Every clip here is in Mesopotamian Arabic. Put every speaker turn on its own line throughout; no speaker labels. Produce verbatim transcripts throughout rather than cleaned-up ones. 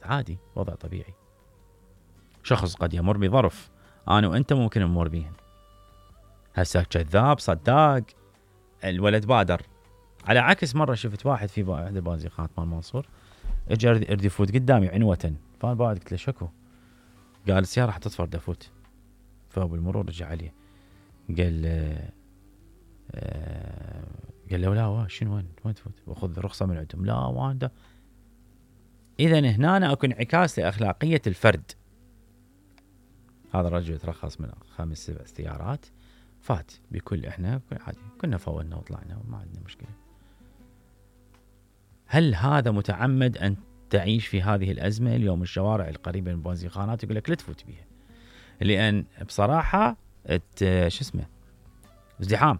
عادي، وضع طبيعي. شخص قد يمر بظرف انا وانت ممكن نمر بيهن. هسه كذاب صداق الولد بادر. على عكس مره شفت واحد في احد البازيخات مال منصور اجى يريد يفوت قدامي عنوه، فانا بعد قلت له شكو؟ قال السياره راح تطفر دفوت. فبالمرور رجع عليه قال آه قال له لا شنو وين وين تفوت؟ باخذ رخصه من عندهم. لا وانت اذا هنا اكو انعكاس لاخلاقيه الفرد. هذا الرجل ترخص من خمس سبع سيارات فات بكل احنا بكل عادي كنا فولنا وطلعنا وما عندنا مشكله. هل هذا متعمد ان تعيش في هذه الازمه؟ اليوم الشوارع القريبه من البنزينخانات يقول لك لا تفوت بيها، لان بصراحه شو اسمه ازدحام.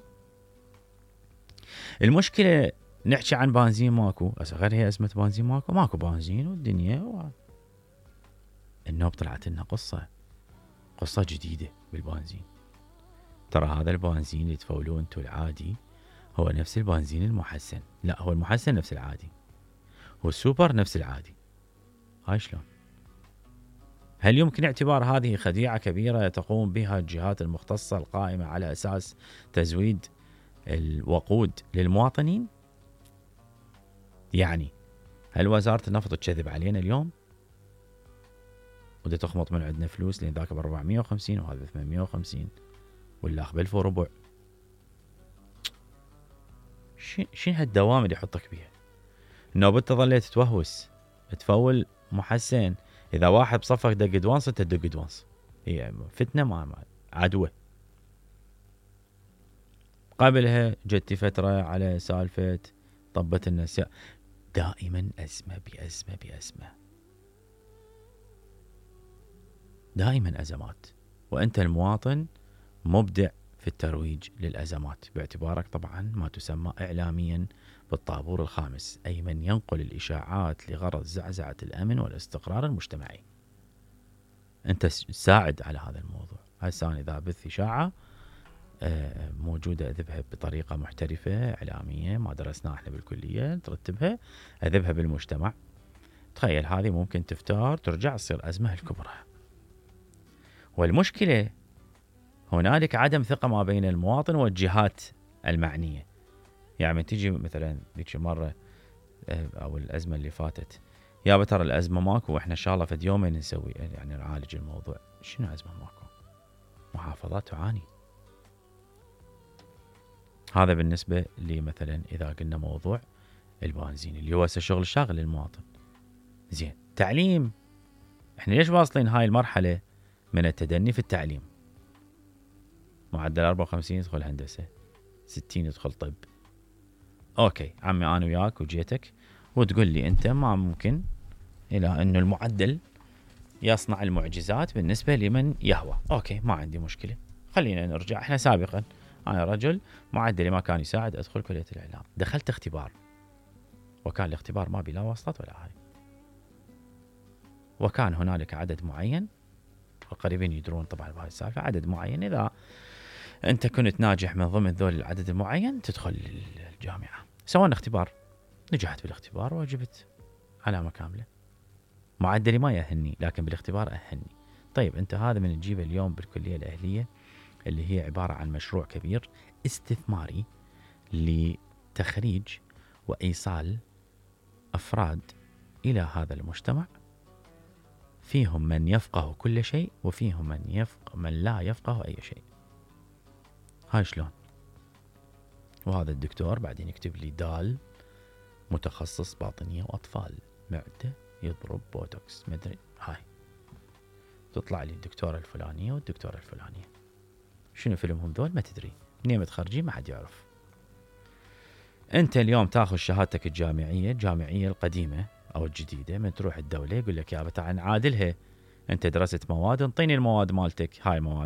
المشكله نحكي عن بنزين ماكو، غير هي ازمه بنزين ماكو ماكو بنزين والدنيا و... النوب طلعت لنا قصه قصه جديده بالبنزين. ترى هذا البنزين اللي تفولوه انتو العادي هو نفس البنزين المحسن. لا هو المحسن نفس العادي، هو السوبر نفس العادي. هاي شلون؟ هل يمكن اعتبار هذه خديعة كبيرة تقوم بها الجهات المختصة القائمة على أساس تزويد الوقود للمواطنين؟ يعني هل وزارة النفط تكذب علينا اليوم وده تخمط من عندنا فلوس لأن ذاك ب أربعمية وخمسين وهذا ب ثمانمية وخمسين ولا بألف وربع؟ شنو هالدوام اللي يحطك بيها؟ النوبة انت ظليت تتوهوس تفول محسن. اذا واحد بصفك دق دوانس انت تدق دوانس، هي فتنه ما عدوه. قبلها جتي فتره على سالفه طبت الناس، دائما ازمه بازمه بازمه، دائما ازمات، وانت المواطن مبدع في الترويج للازمات باعتبارك طبعا ما تسمى اعلاميا بالطابور الخامس، أي من ينقل الإشاعات لغرض زعزعة الأمن والاستقرار المجتمعي. أنت ساعد على هذا الموضوع. هسه أنا إذا بث إشاعة موجودة أذبها بطريقة محترفة إعلامية ما درسناها إحنا بالكلية، ترتبها أذبها بالمجتمع. تخيل هذه ممكن تفتار ترجع تصير أزمة الكبرى. والمشكلة هنالك عدم ثقة ما بين المواطن والجهات المعنية. يعني تيجي مثلا ذيك مرة او الازمة اللي فاتت، يا ترى الازمة ماكو واحنا ان شاء الله فد يومين نسوي يعني نعالج الموضوع. شنو ازمة ماكو؟ محافظات تعاني. هذا بالنسبة لي مثلا اذا قلنا موضوع البنزين اللي هو شغل شاغل للمواطن. زين تعليم، احنا ليش واصلين هاي المرحلة من التدني في التعليم؟ معدل أربعة وخمسين يدخل هندسة، ستين يدخل طب. اوكي عمي انا وياك وجيتك وتقول لي انت ما ممكن الى انه المعدل يصنع المعجزات بالنسبه لمن يهوى. اوكي ما عندي مشكله، خلينا نرجع. احنا سابقا انا رجل معدلي ما كان يساعد ادخل كليه الاعلام، دخلت اختبار وكان الاختبار ما بلا واسطات ولا هاي، وكان هنالك عدد معين والقريبين يدرون طبعا بهاي السالفه، عدد معين اذا انت كنت ناجح من ضمن ذول العدد المعين تدخل الجامعه. سوينا اختبار، نجحت بالاختبار وجبت علامه كامله. معدلي ما يأهلني لكن بالاختبار أهلني. طيب انت هذا من تجيبه اليوم بالكليه الاهليه اللي هي عباره عن مشروع كبير استثماري لتخريج وايصال افراد الى هذا المجتمع، فيهم من يفقه كل شيء وفيهم من يفقه من لا يفقه اي شيء. هاي شلون؟ وهذا الدكتور بعدين يكتب لي دال متخصص باطنية وأطفال معدة يضرب بوتوكس مدري. هاي تطلع لي الدكتورة الفلانية والدكتورة الفلانية. شنو فيلمهم ذول ما تدري، منين متخرجين ما حد يعرف. انت اليوم تاخذ شهادتك الجامعية الجامعية القديمة أو الجديدة، من تروح الدولة يقول لك يا تعال نعادلها، انت درست مواد انطيني المواد مالتك، هاي مواد